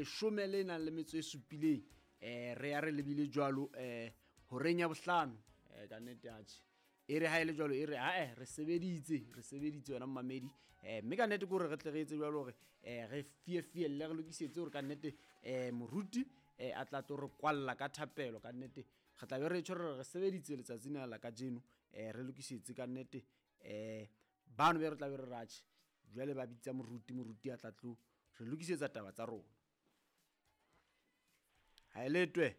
leshome le nang le metso e supileng. Re ya re lebile jwalo horeng ya bohlano. Ka nnete atjhe e re ha e le jwalo, e re ae re sebeditse wena mmamedi. Mme ka nnete ke hore re tle re etse jwalo hore re fiefielle, re lokisetse hore ka nnete moruti a tla tlo re kwalla ka thapelo. Ka nnete re tla be re tjho re sebeditse letsatsi lena la kajeno, re lokisetse ka nnete. Bano be re tla be re ratjhe jwale ba bitsa moruti a tla tlo re lokisetsa taba tsa rona. Ha e letwe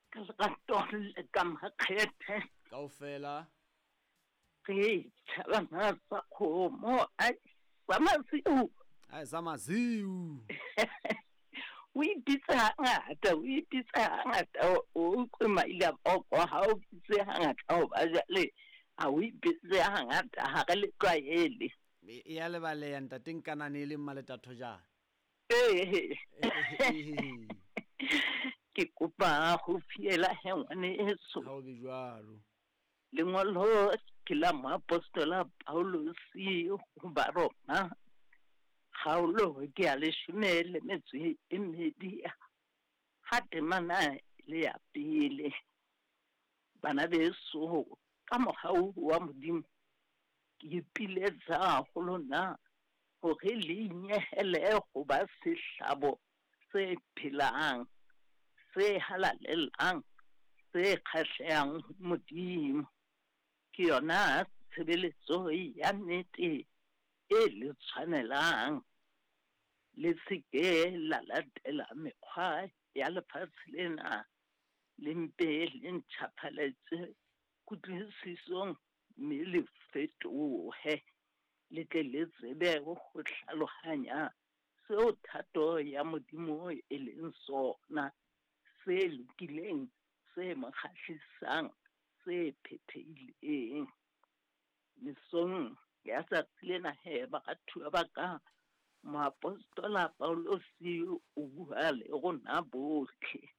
ka lerato le ka makgethe kaofela re tjhabana sa kgomo ai sa masiu, ai sa masiu. O ipitse hangata, o ipitse hangata, o utlwe maile a poko ha o bitse hangata hoba jwale ha o ipitse hangata, ha re le tlwaele. E ya lebaleha ntate Nkanane e leng Maletatho jana. Ee. Ke kopa ho fiela he ngwaneso. Ha o be jwalo. Lengolo ke la moapostola Paulus ho Baroma, kgaolo ke ya 12 ha temana le ya pele. Bana beso, ka mohau wa Modimo ke ipiletsa ho lona hore le inyehele ho ba sehlabo se phelang, se halalelang, se kgahlehang ho Modimo. Ke yona tshebeletso ya nnete e le tshwanelang. Le se ke la latela mekgwa ya lefatshe lena, le mpe le ntjhafaletse kutlwisisong mme le fetohe, le tle le tsebe ho hlalohanya seo thato ya Modimo e leng sona, se lokileng, se mo kgahlisang, se phethehileng. Mesong ya tsatsi lena he, baratuwa ba ka, moapostola Paulus o bua le rona bohle.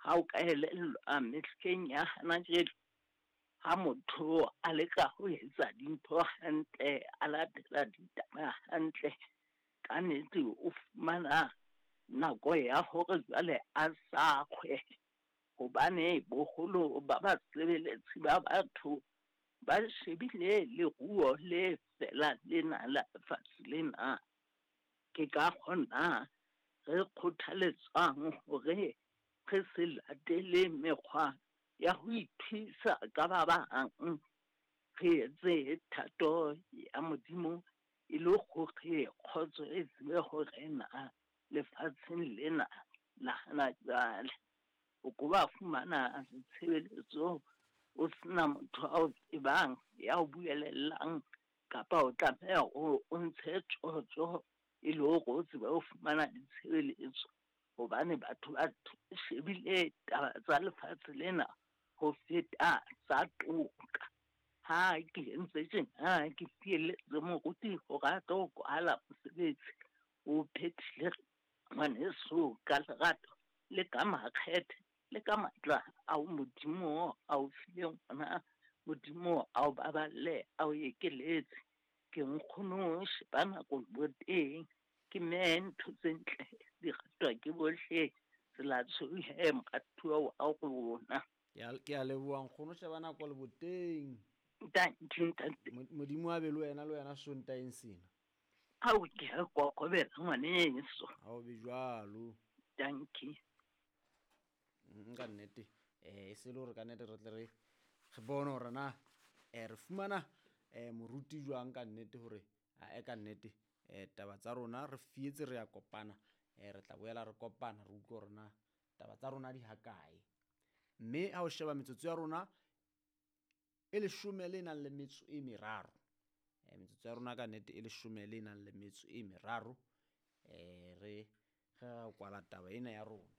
Ha o ka elellwa mehleng ya hana jwale, ha motho a leka ho etsa dintho hantle, a latela ditaba hantle, ka nnete o fumana nako ya hore jwale a sakgwe, hobane boholo ba basebeletsi ba batho ba shebile leruo le fela lena la lefatshe lena. Ke ka kgona re kgothaletswang hore re se latele mekgwa ya ho ithuisa ka ba bang, re etse thato ya Modimo e le hore kgotso e tsebe ho rena lefatsheng lena la hana jwale. O ko ba fumana tshebeletso o sena motho a o tsebang ya o buelellang, kapa o tlameha o ntshe tjotjo e le hore o tsebe ho fumana ditshebeletso, hobane batho ba shebile taba tsa lefatshe lena ho feta tsa toka. Ha ke entse tjena, ke fielletse moruti hore a tlo kwala mosebetsi, o phethile ngwaneso ka lerato le ka makgethe le ka matla ao Modimo a o fileng ona. Modimo a o baballe, a o ekeletse. Ke nkgono sheba nako bo teng, ke mme ntho tse ntle di ratwa ke bohle. Tsela tshweu he moratuwa wa rona. Ke a leboha nkgono sheba nako le boteng. Ntate. Modimo a be le wena, le wena Sontaeng sena. Ao ke a kokobela ngwaneso. Ha o be jwalo. Dankie. Ka nnete e se le hore ka nnete re tle re bone hore na re fumana moruti jwang ka nnete hore a ka nnete taba tsa rona re fietse, re ya kopana, re tla boela re kopana re utlwe hore na taba tsa rona di hakae. Mme ha o sheba metsotso ya rona e 13. Metsotso ya rona ka nnete e 13, re re kwala taba ena ya rona.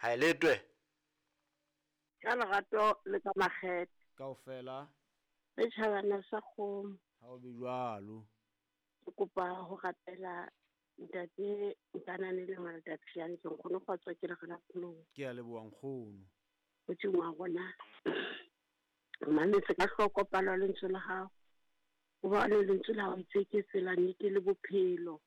Ha e letwe ka lerato le ka makgethe kaofela le tjhabana sa kgomo. Ha o be jwalo. Ke kopa ho rapela ntate Nkanane le Maletatjane, ke nkgono kgotsa ke re la pholo. Ke a leboha nkgono. Modimo wa rona, mametse ka hloko palo ya lentswe la hao, hobane lentswe la hao itse ke tsela, nnete le bophelo.